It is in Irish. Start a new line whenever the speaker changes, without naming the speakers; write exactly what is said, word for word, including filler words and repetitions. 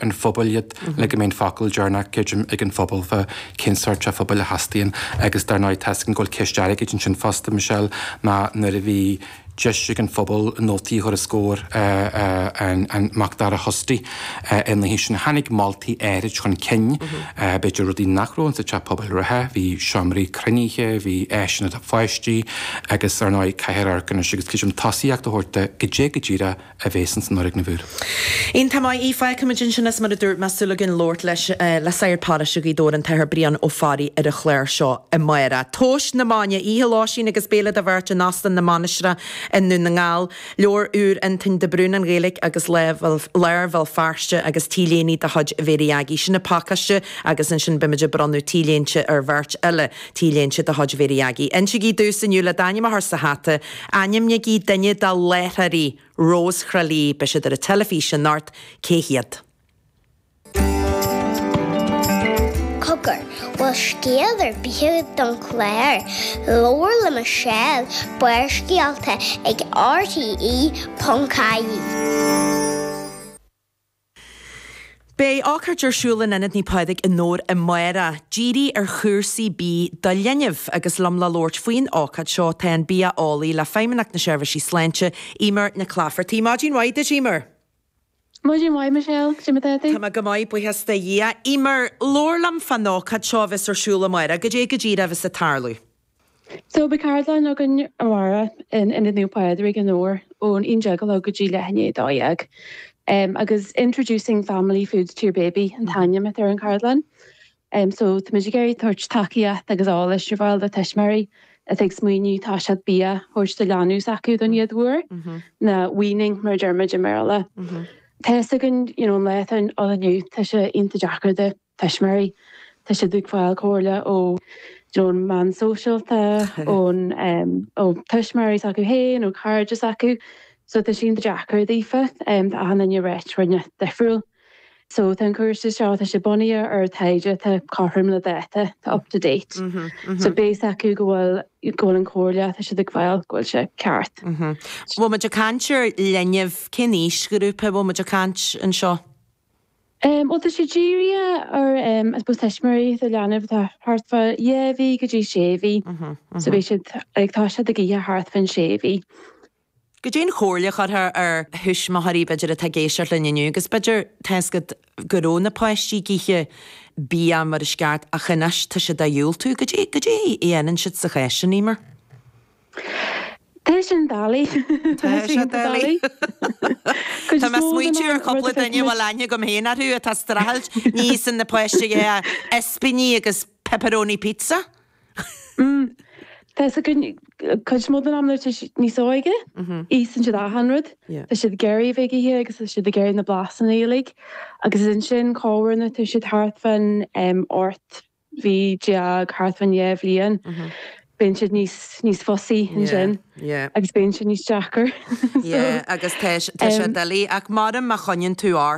an phobail iad le go mbeidh an focal deireanach creidim ag an phobal fá cén sórt teach pobail a theastaíonn agus dar ndóigh tá go bhfuil ceist airgid ansin fosta Michelle ná nuair a bhí deis ag an phobal nótaí a chur os comhair an Macdara Hosty in léi sin tháinig moltaí áirid chun cinn b'fhéidir rudaí nach raibh sa teach pobail reatha, bhí seomraí cruinnithe, bhí áiseanna do pháistí agus ar ndóigh caithfear amharc anois agus creidim tosaíocht a thabhairt go dé go díreach a bheas san fhoirgneamh úr.
Iontach maith í fágfaimid ansin is mar a dúirt mé súil againn labhairt leis le sagart paróiste Ghaoth Dobhair an tAthair Brian Ó Fearraigh ar an chlár seo amárach. Tomhais na Maidne, oíche lóistín agus béile do bheirt in Óstán na Mainistreach i nDún na nGall. Leabhar úr Antoin de Brún an Ghaeilge agus lár Bhéal Feirste agus T-léine de chuid Mhéirí Aggie. Sin an pacáiste agus ansin beimid ag bronnadh T-léinte ar bheirt eile T-léinte de chuid Mhéirí Aggie. Insígí domhsa inniu le d'ainm a chur sa hata, ainmnigí duine de láithreoirí Rós Thrá Lí, beidh siad ar an teilifís anocht, cé hiad?
Cogar, bhfuil scéal ar bith agat don chlár? Labhair le Michelle, Barrscéalta ag RTE.ie.
Beidh ócáid ar siúl in Ionad Naomh Pádraig i nDobhar amárach, dírithe ar chúrsaí bídh do linbh agus liom le labhairt faoin ócáid seo tá an bia-eolaí le Feidhmeannacht na Seirbhísí Sláinte, Eimear Nic Laifeartaigh. Maidin mhaith duit, Eimear.
Maidin mhaith Michelle, Cad é mar atá tú?
Tá mé go maith, buíochas do Dhia. Eimear, labhair liom fán ócáid seo a bheas ar siúl amárach, goidé go díreach a bheas ag tarlú.
So beidh ceardlann againn amárach in Ionad Naomh Pádraig i nDobhar ón aon déag a chlog go dtí leath i ndiaidh a dó dhéag. Um, agus Introducing Family Foods to Your Baby an t-ainm atá ar an cheardlann. Um, so táimid ag iarraidh tabhairt tacaíocht agus eolas ar fáil do tuismitheoirí atá ag smaoineamh tá siad bia a thabhairt do leanbh s'acu don chéad uair nó weaning mar a deirimid i mBéarla. Tá a fhios againn you know, an lá atá ann inniu tá sé iontach deacair do tuismitheoirí. Tá siad ag fáil comhairle ó you know, an meán sóisialta ón um, ó tuismitheoirí s'acu féin ó cairde s'acu. So tá sé iontach deacair daofa um, tá achan duine réit ruine difriúil. So tá an cúrsa seo tá sé bunaithe ar taighde tá cothrom le dáta tá up to date. Mm -hmm, mm -hmm. So beidh acu go bhfuil go bhfuil an chomhairle tá siad ag fáil go bhfuil sé ceart.
Bhfuil muid ag caint ar linbh cén aoisghrúpa bhfuil muid ag caint anseo?
Um, well tá sé dírithe ar um, I suppose tuismitheoirí do leanbh atá thart fá dhá mhí go dtí sé mhí. So beidh siad ag tá siad ag ithe thart fán sé mhí.
Goidé an chomhairle a chuirfeá ar thuismitheoirí b'fhéidir atá ag éisteacht linn inniu, agus b'fhéidir tá a fhios agat go raibh na páistí ag ithe bia mar is ceart ach anois tá siad á dhiúltú, goidé goidé a dhéanann siad sa chás sin Eimear.
Tá sin doiligh.
Tá sé doiligh. Tá mé smaointiú ar chúpla duine bhfuil aithne agam féin orthu atá ag streachailt ní íosann na páistí é ispíní agus pepperoni pizza.
Tá a cuid mó den am nuair atá siad níos óige, íosann siad achan rud. Tá siad ag iarraidh a bheith ag ithe agus tá siad ag iarraidh na blasanna uilig. Agus is ansin corruair nuair atá siad thart fán ocht mhí déag thart fán dhá bhliain. Bíonn siad níos níos fussy ansin agus bíonn siad níos deacair.
Yeah, agus tá tá sé doiligh ach mar má choinníonn tú ort